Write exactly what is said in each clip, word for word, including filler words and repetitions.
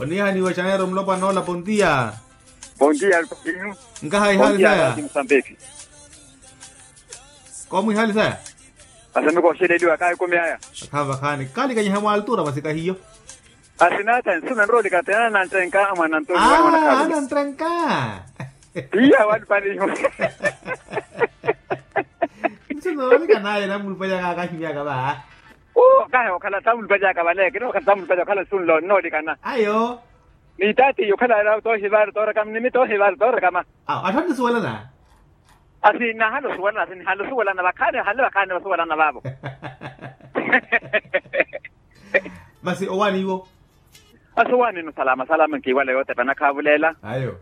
Onihaniwa xaneero mulopwana ola pontiya. Pontiya. Nkaha ihali saya. Komwi ihali saya. Asamiko oxeleliwa kahi kumi aya. Akhavi vakhaani kalikanyiha mwaltura masi kahiyo. Asinata nsuna nroolika tena nantrenka mwana ntoni. Anantrenka. Iya walupaliho. Nsuno olikanaye namulupali akakahimyaka va. Kahi okhala tamulupali akavale kino okhala tamulupali okhala nsunlo noolikana ayo. Ni taati okhala toohivaaru toorekama ni mi toohivaaru toorekama. Awo atthu anisuwelana. Asi nahale osuwelana asi nihale osuwelana vakhaani hale vakhaani vasuwelana vaavo. Masi owaani iwo. Asuwaani ino salama salama nkiwala yotepa nakhavulela. Ayo.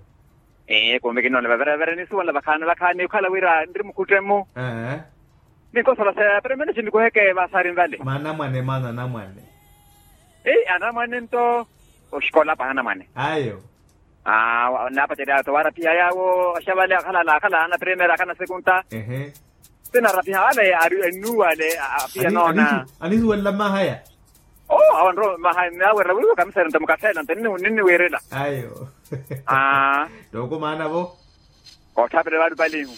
Kumbe kinoona vaverevere nisuwanla vakhaani vakhaani okhala wira nri mukhuttemu. Ninkosola sa primero cinikuheke vasaari nvale maana anamwane maana anamwane. Anamwane nto oxikola paha anamwane. Ayo. Napacerya to warapiha yawo axavale akhala akhala ana primero akhala ana sekunta. Ehe. Sinarapiha ale ari ennuwale apiya noona. Anisuwelela mmahaya. Oo awo nro mmahaya nnawerela wiiwa kamisera nto mukafeela nto ninniwiirela. Ayo. Tooko maana vo. Kootthaapela valupalihu.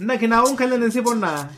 Nna kinaawunkhelani nsipo nna.